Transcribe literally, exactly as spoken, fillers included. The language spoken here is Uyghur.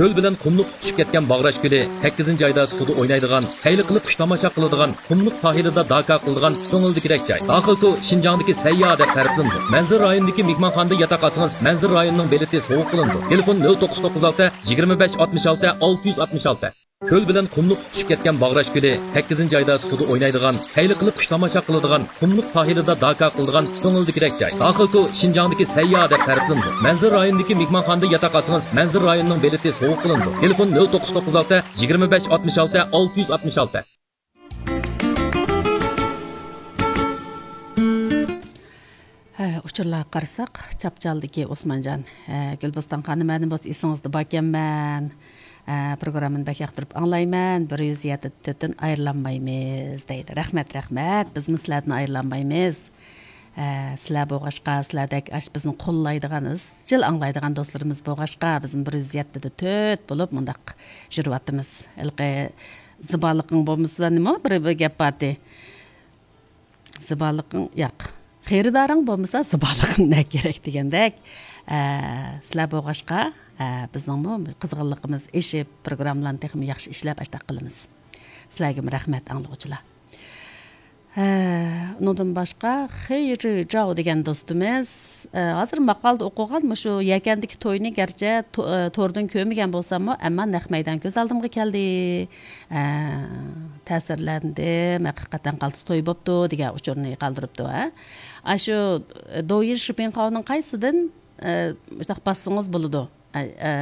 كۆل بىلەن قۇملۇق تۇتىشىپ كەتكەن باغراش كۆلى، سەككىزىنچى ئايدا سۇدا ئوينايدىغان، خەير قىلىپ خۇش تاماشا قىلىدىغان، قۇملۇق ساھىلىدا داكا قىلىدىغان كۆڭۈلدىكىدەك جاي. داخىل تو شىنجاڭدىكى سەيياھ دەپ تەرىپلىنىدۇ. مەنزىرە رايونىدىكى مېھمانخانىدا ياتاق ئالسىڭىز، مەنزىرە رايونىنىڭ بېلىتى سوۋغا قىلىنىدۇ. تېلېفون: نۆل توققۇز توققۇز ئالتە، يىگىرمە بەش ئاتمىش ئالتە، ئالتە يۈز ئاتمىش ئالتە. كۆل بىلەن قۇملۇق تۇتۇشۇپ كەتكەن باغراش كۆلى، سەككىزىنچى ئايدا سۇدا ئوينايدىغان، خەير قىلىپ خۇش تاماشا قىلىدىغان، قۇملۇق ساھىلىدا داكا قىلىدىغان كۆڭۈلدىكىدەك جاي. داخىل تو شىنجاڭدىكى سەيياھ دەپ تەرىپلىنىدۇ. مەنزىرە رايونىدىكى مېھمانخانىدا ياتاق ئالسىڭىز، مەنزىرە رايونىنىڭ بېلىتى سوۋغا قىلىنىدۇ. تېلېفون: نۆل توققۇز توققۇز ئالتە، يىگىرمە بەش ئاتمىش ئالتە، ئالتە يۈز ئاتمىش ئالتە. ھە، ئۇچۇرلارغا قارىساق، چاپچالدىكى ئوسمانجان، ھە، گۈلبوستان خانىم، مەنىمۇ ئېسىڭىزدە باركەنمەن. ھە، پروگراممىنى بەك ياقتۇرۇپ ئاڭلايمەن. بىر يۈز يەتتە تۆتتىن ئايرىلالمايمىز دەيدۇ. رەھمەت، رەھمەت. بىزمۇ سىلەردىن ئايرىلالمايمىز. ھە، سىلەر بولغاچقا، سىلەردەك ئاش بىزنى قوللايدىغان، ئىزچىل ئاڭلايدىغان دوستلىرىمىز بولغاچقا، بىزمۇ بىر يۈز يەتتىدە تۆت بولۇپ مۇنداق يۈرۈۋاتىمىز. ھېلىقى زىبالىقىڭ بولمىسا نېمە بىر، بىر گەپ بارتى. زىبالىقىڭ، ياق. خېرىدارىڭ بولمىسا، زىبالىقىڭ نە كېرەك دېگەندەك. ئە، سىلەر بولغاچقا، ئە، بىزنىڭمۇ قىزغىنلىقىمىز ئېشىپ، پروگراممىلارنى تېخىمۇ ياخشى ئىشلەپ، ئاشتاق قىلىمىز. سىلەرگىمۇ رەھمەت، ئاڭلىغۇچىلار. ھە، ئۇنىڭدىن باشقا خېيرى جاۋ دېگەن دوستىمىز، ئە، ھازىر ماقالىدا ئوقۇغان مۇشۇ يەكەندىكى توينى گەرچە تو-، ئە، توردىن كۆرمىگەن بولساممۇ، ئەمما نەق مەيدان كۆز ئالدىمغا كەلدى. ئە، تەسىرلەندىم، ھەقىقەتەن قالتىس توي بوپتۇ دېگەن ئۇچۇرنى قالدۇرۇپتۇ، ھە. ئاشۇ، ئە، دويىن شىپىڭخاۋنىڭ قايسىدىن، ئە، مۇشۇنداق باسسىڭىز بولىدۇ. ئە، ئە،